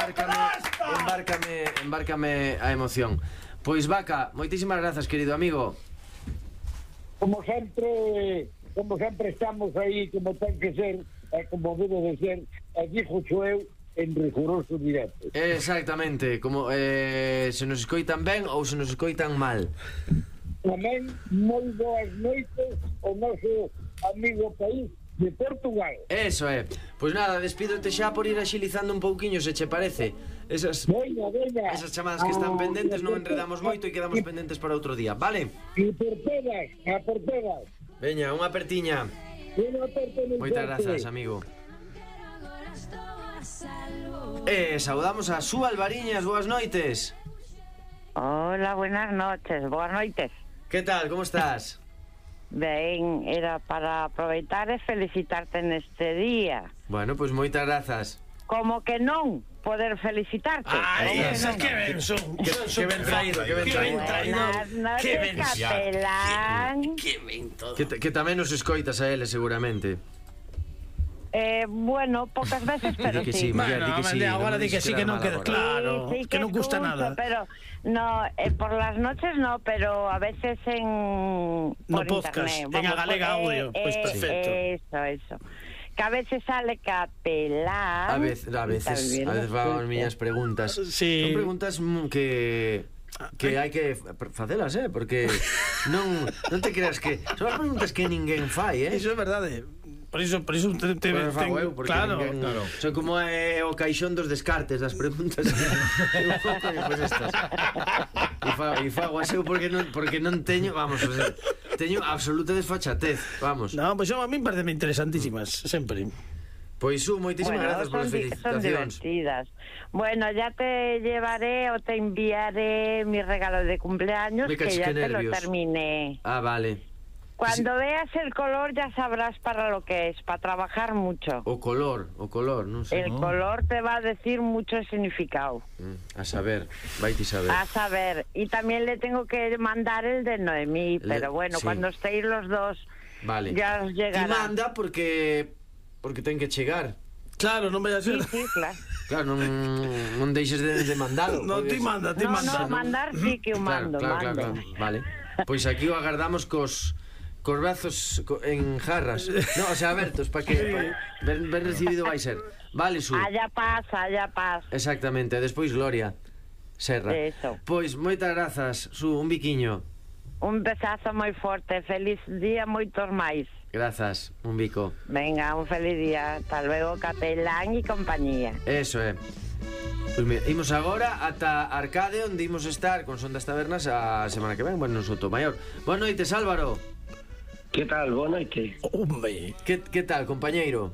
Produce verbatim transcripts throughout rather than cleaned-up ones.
embárcame, embárcame, embárcame a emoción. Pois Vaca, moitísimas grazas, querido amigo. Como sempre, como sempre estamos aí, como ten que ser, e como debe de ser, e dixo eu en riguroso directo. Exactamente, como eh, se nos escoitan ben ou se nos escoitan mal. Tamén moi boas noites ao noso amigo país de Portugal. Eso é. Pois nada, despídote xa por ir axilizando un pouquiño, se che parece. Esas, Veña, veña. esas chamadas que están Ah, pendentes non por enredamos moito e quedamos pendentes para outro día, vale? E por todas, a por todas. Veña, unha apertiña. Unha aperta moi Moitas forte. grazas, amigo. E saudamos a Su Alvariñas, boas noites. Hola, buenas noches, boas noites. Que tal, como estás? Ben, era para aproveitar e felicitarte neste día. Bueno, pois moitas grazas. Como que non poder felicitarte. Ai, Como esa non? que ben son. Que, que ben traído, que ben Que ben traído. traído. Buenas noches, Que ben capelán. Que ben todo. Que, que tamén nos escoitas a ele, seguramente. Eh, bueno, pocas veces, pero Di que sí. sí, Miguel, di Bueno, que sí, agora non me di que dices sí, que que era non mala queda hora. claro, Sí, sí que non gusta escucho, nada. Pero no, eh, por las noches no, pero a veces en No por podcast, internet. en A Galega Audio, pues perfecto. Eso, eso. Que a veces sale capelán. A veces, a veces, a veces van as miñas preguntas. Sí. Son preguntas mm, que que hai que facelas, eh, porque non non te creas que son as preguntas que ninguén fai, eh. Iso é verdade. Por iso, por iso te, te, Bueno, fago ten- eu, porque claro, ninguén, claro. son como é o caixón dos descartes das preguntas. Eu pouco, pois estas. E fago, e fago aseo porque non, porque non teño, vamos, o sea, teño absoluta desfachatez, vamos. No, pois pues, a mí parecen interesantísimas, sempre. Pois Su, moitísimas Bueno, grazas son, polas di- son felicitacións. divertidas. Bueno, ya te llevaré o te enviaré mi regalo de cumpleaños, Me que cachis, ya que te lo nervios. terminé. Ah, vale. Cuando veas el color ya sabrás para lo que es, para trabajar mucho. O color, o color, non sei. El color te va a decir mucho significado. Mm, a saber, vaite saber. A saber, y también le tengo que mandar el de Noemí, Le- pero bueno, sí. cuando estéis los dos Vale. ya os Ti llegará. manda porque porque ten que chegar. Claro, non vai a Sí, ser. sí, claro. Claro, non, non deixes de, de mandalo. No, porque- ti manda, ti No, manda. no, mandar sí que Claro, eu mando, claro, claro, mando. claro. Vale. Pois aquí o agardamos cos cos brazos co- en jarras. No, o sea, abertos para que pa, ben, ben recibido vai ser. Vale, Su. Allá pasa, allá pasa. Exactamente, e despois Gloria Serra. Eso. Pois moitas grazas, Su, un biquiño. Un besazo moi forte, feliz día, moitos máis. Grazas, un bico. Venga, un feliz día. Hasta luego, capelán y compañía. Eso é. Pois mira, imos agora ata Arcade, onde imos estar con Son das Tabernas a semana que ven, bueno, no Sotomayor. Boas noites, Álvaro. Que tal? Boa noite. Hombre. Que, que tal, compañeiro?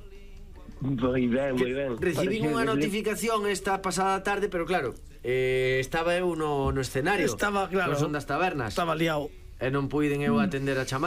Moi ben, moi ben. Recibín Parece unha que- notificación esta pasada tarde, pero claro, eh, estaba eu no, no escenario. Estaba, claro. Con Son das Tabernas. Estaba liado. E non puiden eu atender a chamada.